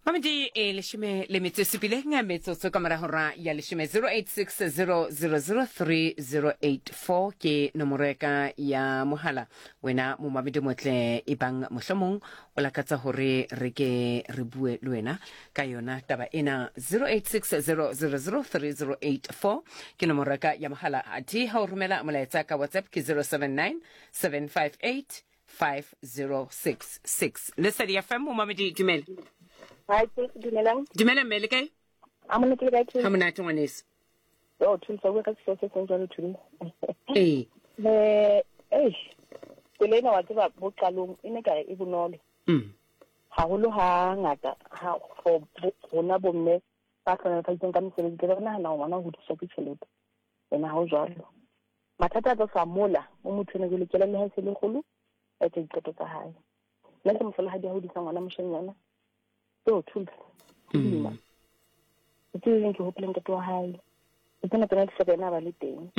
Mamedi e leshome le metso e supileng metsotso ka mora hora ya leshome. 0860003084 ke nomoro ya ka ya mohala. Wena momamedi motle, e bang mohlomong o lakatsa hore re ke re bue le wena ka yona taba ena. 0860003084 ke nomoro ya ka ya mohala. Athe ha o romela molaetsa ka WhatsApp ke 079 758 5066. Lesedi FM, momamedi, dumela. Hi, dumelang. Dumela mme, le kae? A monate, le kae? Ha monate, ngwaneso. Oh, Thulisa, bua ka sehlooho se seng jwalo, Thulisa. Ee. Eh, eish. Tsela ena wa tseba bo qalong e ne kare e bonolo. Haholo ha ngata ha for rona bomme ba hlohonolofaditsweng ka mesebetsi, tlabe re nahana hore ngwana o hodiswa ke tjhelete. Ene ha ho jwalo. Mathata a tlo hlaha mola mo motho ena jwale kelello ha e se le kgolo, a etsa diqeto tsa hae. Nna ke mohlolohadi a hodisa ngwana moshanyana. Yo, Thulisa, ho boima. Ke tsebe jwang ke hopole ntate wa hae. Ke tsena tsona di hloka ena a ba le teng.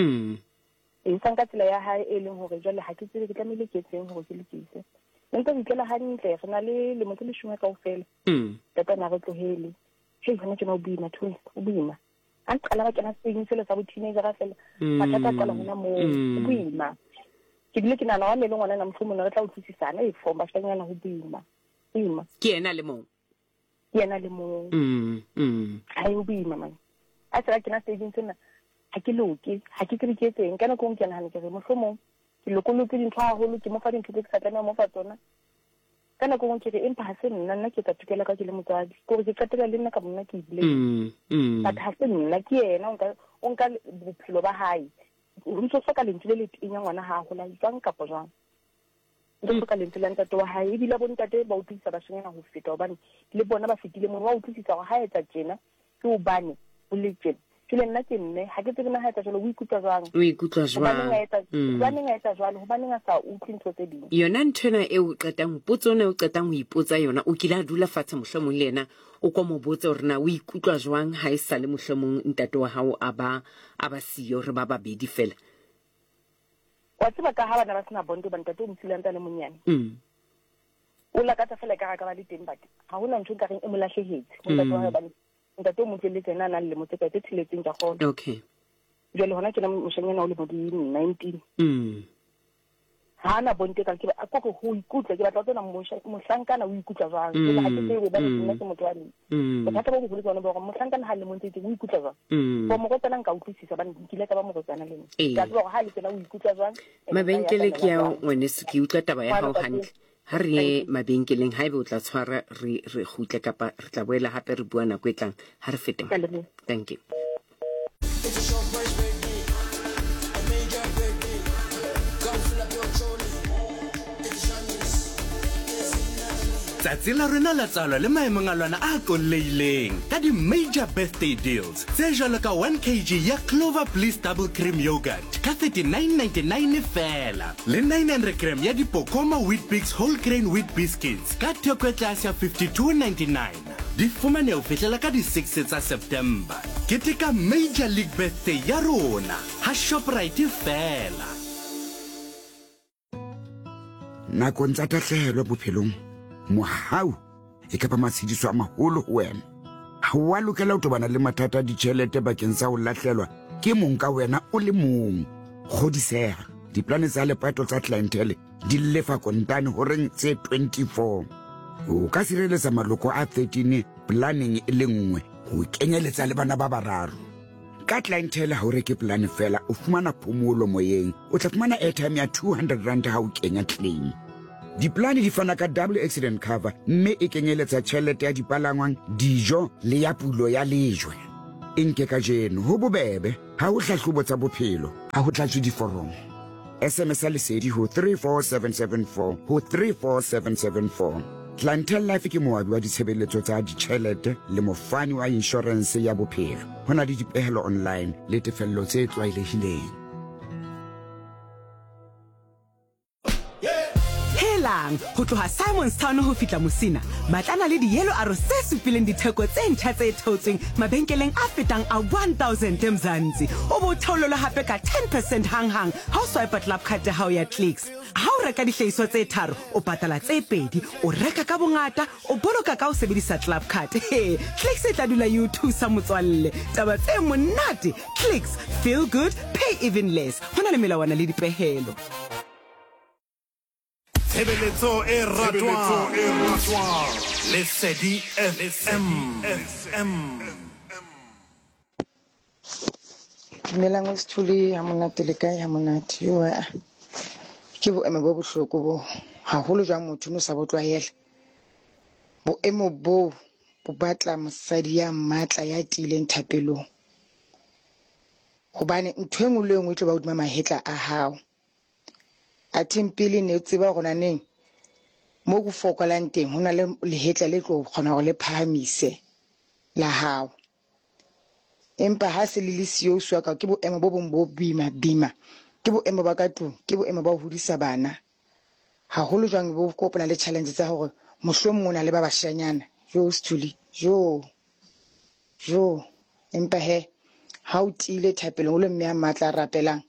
E sa nka tsela ya hae e leng hore jwale ha ke tsebe ke tlamehile ke etseng hore ke lokise. Ne ntse re itlela hantle, re na le lemo tse leshome kaofela. Ntate a na re tlohele. Hei, hona tjena o boima, Thulisa, o boima. A qala ba kena seng sele sa bo teenager fela. Mathata a qala hona moo. Ho boima. Ke bile ke nahana wa mme le ngwana na mohlomong re tla utlwisisana e for bashanyana ho boima. Boima. Ke yena le mong. Ke yena le mong. Ha e ho boima man. A se ka kena stageng sena ha ke loke, ha ke tsebe ke etseng. Ka nako e nngwe ke nahana ke re mohlomong ke lokolotse dintho haholo, ke mo fa dintho tse ke sa tlamehang ho mo fa tsona. Ka nako e nngwe ke re empa ha se nna, nna ke etsa tokelo ya ka ke le motswadi. Ke hore ke qetela le nna ka bonna ke i-blame. But ha se nna, ke yena o nka, o nka bophelo ba hae. O ntso hloka lentswe le le tenya ngwana ha a hola jwang kapa jwang. O ntso hloka lentswe la ntate wa hae. Ebile bo ntate ba utlwisisa bashanyana ho feta hobane le bona ba fetile mono. Wa utlwisisa hore ha etsa tjena ke hobane ho le tjena. Jwale nna ke mme, ha ke tsebe na ha etsa jwalo o ikutlwa jwang. O ikutlwa jwang? Hobaneng a etsa, hobaneng a etsa jwalo? Hobaneng a sa utlwe ntho tse ding? Yona ntho ena eo o qetang, potso ena o qetang ho ipotsa yona, o kile a dula fatshe mohlomong le yena, o ko mo botse hore na o ikutlwa jwang ha e sale mohlomong ntate wa hao a ba, a ba siyo, re ba babedi fela. Wa tseba ka ha bana ba sena bond hoba ntate o mo siile a ntse a le monyane. O lakatsa fela ekare a ka ba le teng, but ha hona ntho nkareng e mo lahlehetse ho ntate wa hae hobane ntate o mo tlohelletse ena a nang le lemo tse kae, tse tsheletseng ke a kgolwa. Okay. Jwale hona tjena moshanyana o lemo di 19. Ha ana bonte ka ke ba ko ho ikutlwa ke batla ho tsena mohlankana o ikutlwa jwang. Jwale ha ke tsebe hobane nna ke motho wa mme. Bothata bo boholo ke bona bo hore mohlankana ha le montse teng o ikutlwa jwang. For morwetsana nka utlwisisa hobane nkile ka ba morwetsana le nna. Ke a tseba hore ha le tsena o ikutlwa jwang. Mabenkele ke ao ngwaneso, ke utlwa taba ya hao hantle. Ha re ye mabenkeleng, haeba o tla tshwara re re kgutle kapa re tla boela hape re bua nako e tlang. Ha re fete. Thank you. Tsatsi la rena la tswalo le maemong a lona a qolleileng ka di-major birthday deals tse jwalo ka 1 kg ya Clover Bliss Double Cream Yogurt ka 39.99 feela le 900 gram ya Dipokoma Weet-Bix Whole Grain Wheat Biscuits ka theko e tlase ya 52.99. Di fumanehe ho fihlela ka di 6 tsa September. Keteka Major League Birthday ya rona ha Shoprite feela. Nakong tsa tahlehelo bophelong, mohau e ka ba matshediso a maholo ho wena. Ha o a lokela ho tobana le mathata a ditjhelete bakeng sa ho lahlelwa ke mong ka wena o le mong. Kgodiseha, diplane tsa lepato tsa Clientele di lefa kontane horeng tse 24. O ka sireletsa maloko a 13 planeng e le nngwe ho kenyeletsa le bana ba bararo. Ka Clientele ha o reke polane fela, o fumana phomolo moyeng. O tla fumana airtime ya 200 rand ha o kenya claim. Diplane di fana ka double accident cover mme e kenyeletsa tjhelete ya dipalangwang, dijo le ya pulo ya lejwe. E nke kajeno, ho bobebe, ha ho hlahlobo tsa bophelo, ha ho tlatswe diforomo. SMS ya Lesedi ho 34774 ho 34774. Clientele Life ke moabi wa ditshebeletso tsa ditjhelete le mofani wa inshorense ya bophelo. Ho na le dipehelo online le tefello tse tlwaelehileng. Hela! Hopolang, ho tloha Simon's Town ho fihla Musina, batlana le di-yellow arrows tse supileng ditheko tse ntjha tse theotsweng mabenkeleng a fetang a 1000 Mzansi. O bo theolelwe hape ka 10 percent hanghang ha o swipa club card ya hao ya Clicks. Ha o reka dihlahiswa tse tharo, o patala tse pedi. O reka ka bongata, o boloka ka ho sebedisa club card. He, Clicks e tla dula e o thusa motswalle. Taba tse monate! Clicks, feel good, pay even less. Ho na le melawana le dipehelo. Tshebeletso e ratwang Lesedi FM. Dumelang o Sithole ha monate le kae ha monate yo a ke boemo bo bohloko bo haholo jwang motho no sa bo tlwaela boemo boo bo batla mosadi ya matla ya tiileng thapelong hobane ntho e nngwe le e nngwe e tlo ba hodima mahetla a hao Athe pele ne o tseba hore naneng mo go fokolang teng ho na le lehetla le tlo kgona hore le phahamise la hao. Empa ha se le le siyo o ka ke boemo bo bong bo boima bima. Ke boemo ba ka tlung, ke boemo ba ho hodisa bana. Haholo jwang bo kopana le challenge tsa hore mohlomong o na le ba bashanyana. Jo Sthuli, jo. Jo. Empa he ha o tiile thapelong o le mme a matla a rapelang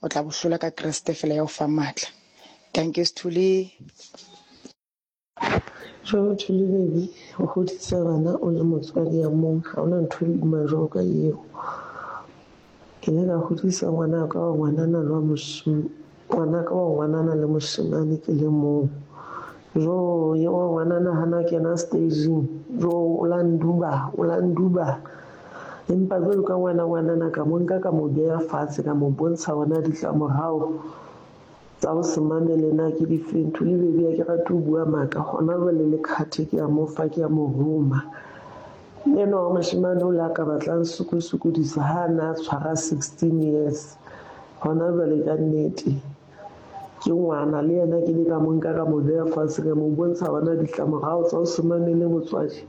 O tla bo hlola ka Kreste fela ya o fang matla. Dankie Sthuli. Jwalo Thuli baby, ho hodisa bana o le motswadi ya mong ha hona ntho e boima jwalo ka eo. Ke ile ka hodisa ngwana ka wa ngwanana le wa ngwana ka wa ngwanana le moshemane ke le mong. Jo ye wa ngwanana hana kena staging, jo o la nduba, o la nduba. Empa jwalo ka ngwana ngwanana ka mo nka ka mo beha fatshe ka mo bontsha hore na ditlamorao tsa ho se mamele na ke difeng. Thuli baby ha ke rate ho bua maka hona jwale le khathe ke a mo fa ke a mo roma. Enwa wa moshemane o le a ka batlang sokosokodisa ha a na a tshwara 16 years hona jwale ka nnete. Ke ngwana le yena ke ile ka mo nka ka mo beha fatshe ka mo bontsha hore na ditlamorao tsa ho se mamele motswadi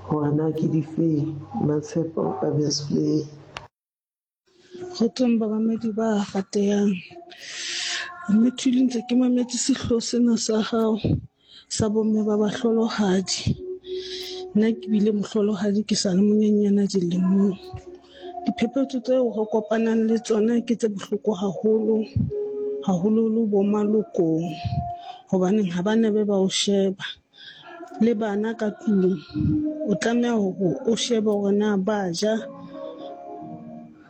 hore na ke difeng. Matshepo Babesvlei. Kgotsong bamamedi ba ratehang. Mme Thuli ntse ke mametse sehlooho sena sa hao sa bomme ba bahlolohadi. Nna ke bile mohlolohadi ke sa le monyenyana dilemong. Diphephetso tseo re kopanang le tsona ke tse bohloko haholo, haholoholo bo malokong hobaneng ha ba ne be ba o sheba. Le bana ka tlung o tlameha hore o shebe hore na ba ja,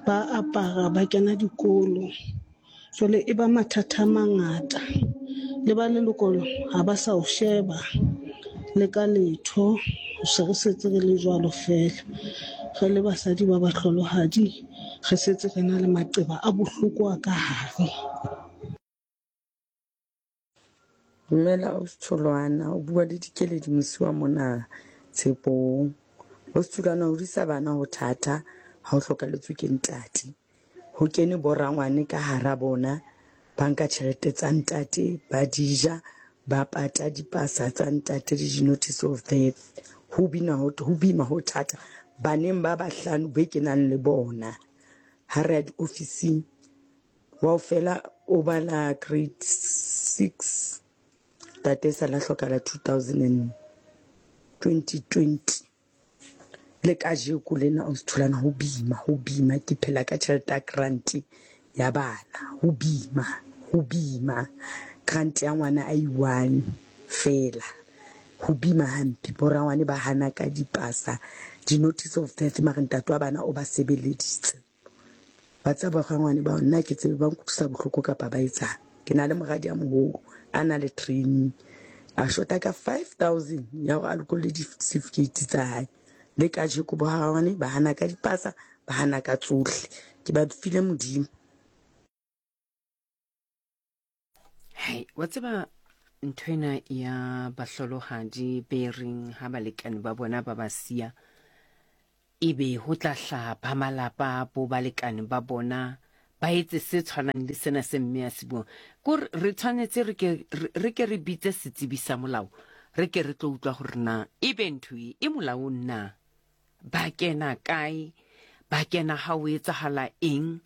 ba apara, ba kena dikolo. Jwale e ba mathata a mangata. Le ba leloko ha ba sa o sheba le ka letho. Se re setse re le jwalo feela. Re le basadi ba bahlolohadi, re setse re na le maqeba a bohloko a ka hare. Dumela Ausi Tholwana, o bua le Dikeledi Mosiwa mona Tshepong. Ausi Tholwana, ho hodisa bana ho thata ha o hlokaletswe ke ntate. Ho kene borangwane ka hara bona, ba nka tjhelete tsa ntate ba di ja, ba pata dipasa tsa ntate le di-notice of death. Ho bina ho, ho boima ho thata baneng ba bahlano be ke nang le bona. Ha re ya diofising Wa fela o bala grade 6 tate sa la hlokala 2000 2020 le kajeko lena o tholana ho bima ho bima ke phela ka tjhelete ya grant ya bana ho bima ho bima grant ya ngwana a i-one fela ho bima hampe borangwane ba hana ka dipasa di-notice of death mare ntate wa bana o ba sebeleditse Wa tseba rangwane bao nna ke tsebe ba nkutlwisa bohloko kapa ba etsang. Ke na le moradi a moholo a na le training a shota ka 5000 ya hore a lokolle di-certificate tsa hae. Le kajeko bo rangwane ba hana ka dipasa, ba hana ka tsohle. Ke ba file Modimo. Hai, wa tseba nthwena ya bahlolohadi be reng ha balekane ba bona ba ba siya ebe ho tla hlaha ba malapa bo balekane ba bona ba etse se tshwanang le sena se mme a se buang. Kore re tshwanetse re ke re ke re bitse setsebi sa molao re ke re tlo utlwa gore na ebe ntho e e molaong na. Ba kena kae? Ba kena ha o etsahala eng?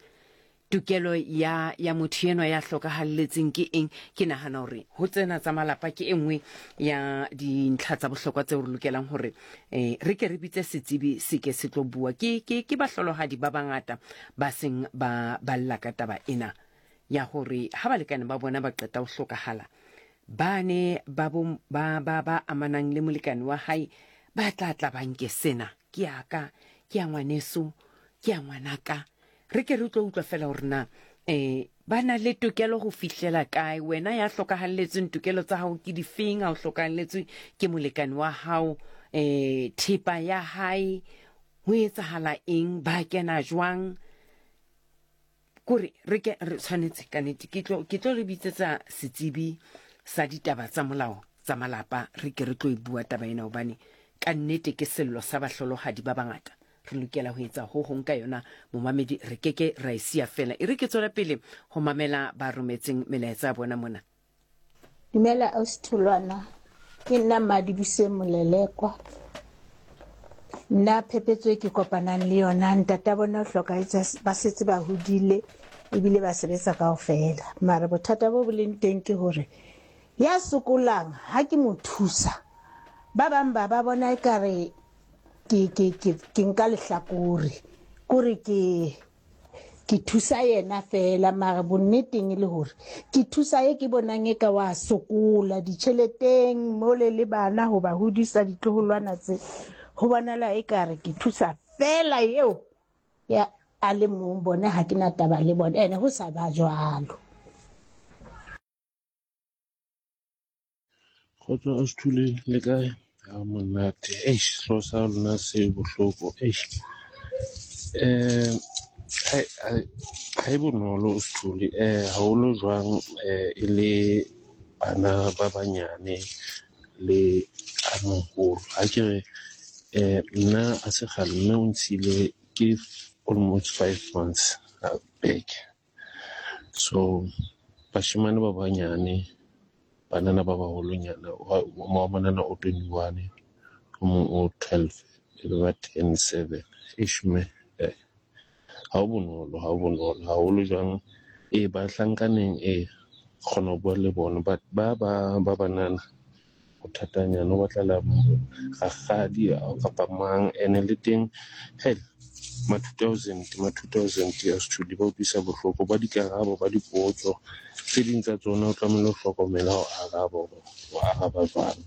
Tokelo ya ya motho enwa ya hlokahalletseng ke eng? Ke nahana hore ho tsena tsa malapa ke e nngwe ya dintlha tsa bohlokwa tseo re lokelang hore eh, re ke re bitse setsebi se ke se tlo bua. Ke, ke, ke bahlolohadi ba bangata ba seng ba balla ka taba ena ya hore ha balekane ba bona ba qeta ho hlokahala, ba ne ba, bo, ba, ba, ba amanang le molekane wa hae ba tla tla ba nke sena ke ya ka, ke ya ngwaneso, ke ya ngwanaka. Re ke re tlo utlwa fela gore na um ba na le tokelo go fihlela kae. Wena ya hlokahalletsweng, tokelo tsa gago ke difeng? Ha o hlokahalletswe ke molekane wa gago, um thepa ya hae, ho etsahala eng? Ba kena jwang? Kore re ke re tshwanetse ka nete ke tlo ke tlo re bitsetsa setsebi sa ditaba tsa molao tsa malapa, re ke re tlo e bua taba ena, hobane ka nnete ke sello sa bahlolohadi ba bangata. Re lokela ho etsa ho hong ka yona, momamedi, re ke ke ra e siya feela. E re ke tswele pele ho mamela ba rometseng melaetsa ya bona mona. Dumela ausi Tholwana, ke nna Mmadibuse Molelekwa. Nna phephetso e ke kopanang le yona, ntata bona o hlokahetse ba setse ba hodile ebile ba sebetsa kaofela. Mara bothata bo bo leng teng ke hore ya sokolang ha ke mo thusa, ba bang ba ba bona ekare ke ke ke ke nka lehlakore, kore ke ke thusa yena fela, mara bonneteng e le hore ke thusa e ke bonang e ka wa sokola ditjheleteng mole le bana ho ba hodisa ditloholwana tse, ho bonala e ka re ke thusa fela eo ya a le mong, bone ha ke na taba le bone, ene ho sa ba jwalo. Kgotso Ausi le kae? Ha monate. Eish, sehlooho sa lona se bohloko. Eish. Eh ha e bonolo Ausi eh haholo jwang eh e le bana ba banyane le a moholo. Ha ke re eh nna a se kgale mme o ntshile ke almost 5 months back. So bashemane ba banyane, banana ba baholonyana, wa ngwanana o 21, o mong o 12, e be ba 10, 7. Eish mme, eh, ha ho bonolo, ha ho bonolo. Haholo jwang, ee bahlankaneng ee, kgona ho bua le bona, but ba ba ba banana ho thatanyana, o batla rakgadi kapa mang. Ene le teng hell ma 2000, ma 2000 ya Sthuli ba utlwisa bohloko ba dikarabo ba dipotso tse ding tsa tsona, o tlamehile ho hlokomela ho araba hore o araba jwang,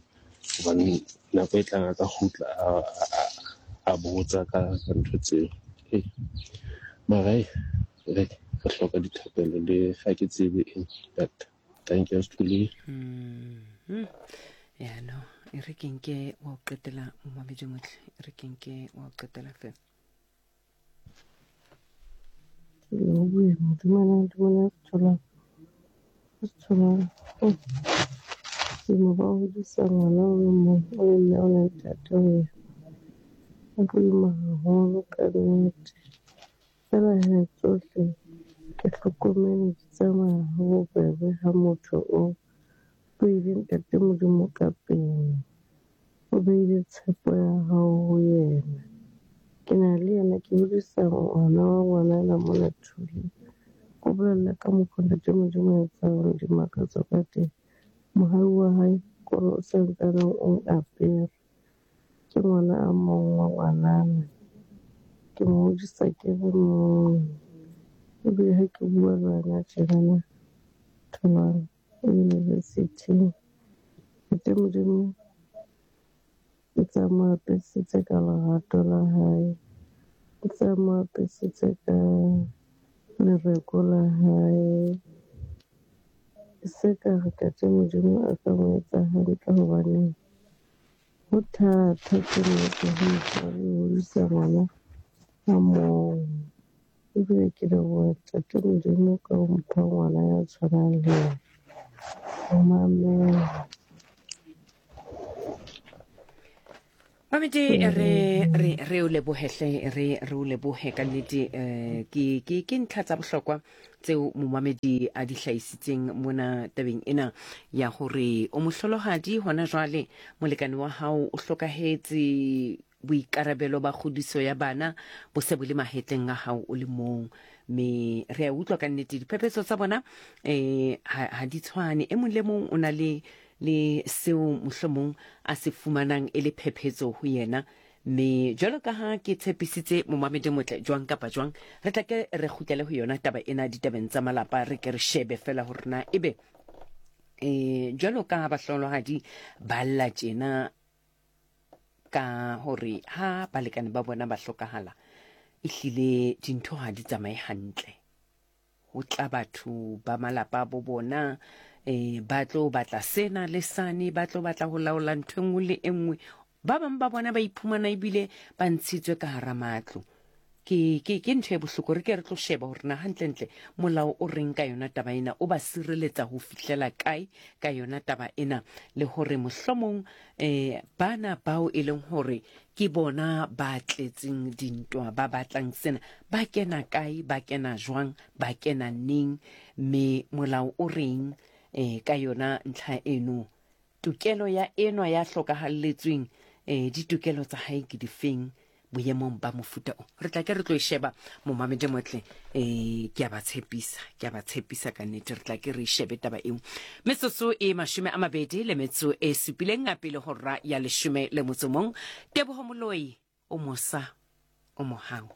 hobane nako e tlang a ka kgutla a botsa ka ntho tseo. Ee, mara re hloka dithapelo le ga ke tsebe eng, but thank you Sthuli. Ya no, e re ke nke wa o qetela momamedi motle, e re ke nke wa o qetela fela. Dumelang, dumelang Setholwana. Setholwana. Boima ba ho hodisa ngwana o le mong, o le mme o le ntate ho yena. Ho boima haholo ka nnete. Feela he tsohle ke hlokomele di tsamaya ha bobebe ha motho o beile Ntate Modimo ka pele. O beile tshepo ya hao ho yena. Ke na le yena ke hodisa ngwana wa ngwanana mona Thuleng. O bolella ka mokgo Ntate Modimo a etsang dimakatso ka teng. Mohau wa hae kore o santsaneng o apere. Ke ngwana a mong wa ngwanana. Ke mo hodisa ke le mong. Ebile ha ke bua le wena tjenana, Tholwana o university. Ntate Modimo o ntse a mo apesitse ka lerato la hae. O ntse a mo apesitse ka lereko la hae. E se ka re Ntate Modimo a ka mo etsa hantle hobane ho thata ke nnete ho motswadi ho hodisa ngwana a mong. Ebile ke leboha Ntate Modimo ka ho mpha ngwana ya tshwanang le yena. Ho mamela. Mamedi re re re o lebohe hle re re o lebohe ka nnete eh, ke ke ke ntlha tsa bohlokwa tseo momamedi a di hlahisitseng mona tabeng ena ya hore o mohlolohadi hona jwale, molekane wa hao o hlokahetse, boikarabelo ba kgodiso ya bana bo se bo le mahetleng a hao o le mong. Me re a utlwa ka nnete diphephetso tsa bona um ha di tshwane. E mong le mong o na le le seo mohlomong a se fumanang e le phephetso ho yena. Me jwalo ka ha ke tshepisitse momamedi motle jwang kapa jwang, re tla ke re kgutlele ho yona taba ena ditabeng tsa malapa, re ke re shebe fela hore na ebe um jwalo ka ha bahlolohadi ba lla tjena ka hore ha balekane ba bona ba hlokahala, ehlile dintho ha di tsamaye hantle. Ho tla batho ba malapa a bo bona um ba tlo batla sena le sane, ba tlo batla ho laola ntho e nngwe le e nngwe. Ba bang ba bona ba iphumana ebile ba ntshitswe ka hara matlo. Ke, ke, ke ntho e bohloko. Re ke re tlo sheba hore na hantlentle molao o reng ka yona taba ena, o ba sireletsa ho fihlela kae ka yona taba ena, le hore mohlomong um bana bao e leng hore ke bona ba tletseng dintwa, ba batlang sena, ba kena kae, ba kena jwang, ba kena neng, me molao o reng eh, ka yona ntlha eno. Tokelo ya enwa ya hlokahalletsweng, eh, ditokelo tsa hae ke difeng boemong ba mofuta o. Re tla ke re tlo e sheba, momamedi motle, eh, ke a ba tshepisa, ke a ba tshepisa ka nnete, re tla ke re e shebe taba eo. Metsotso e 27 a pele hora ya 11. Teboho Moloi, o mosa, o mohau.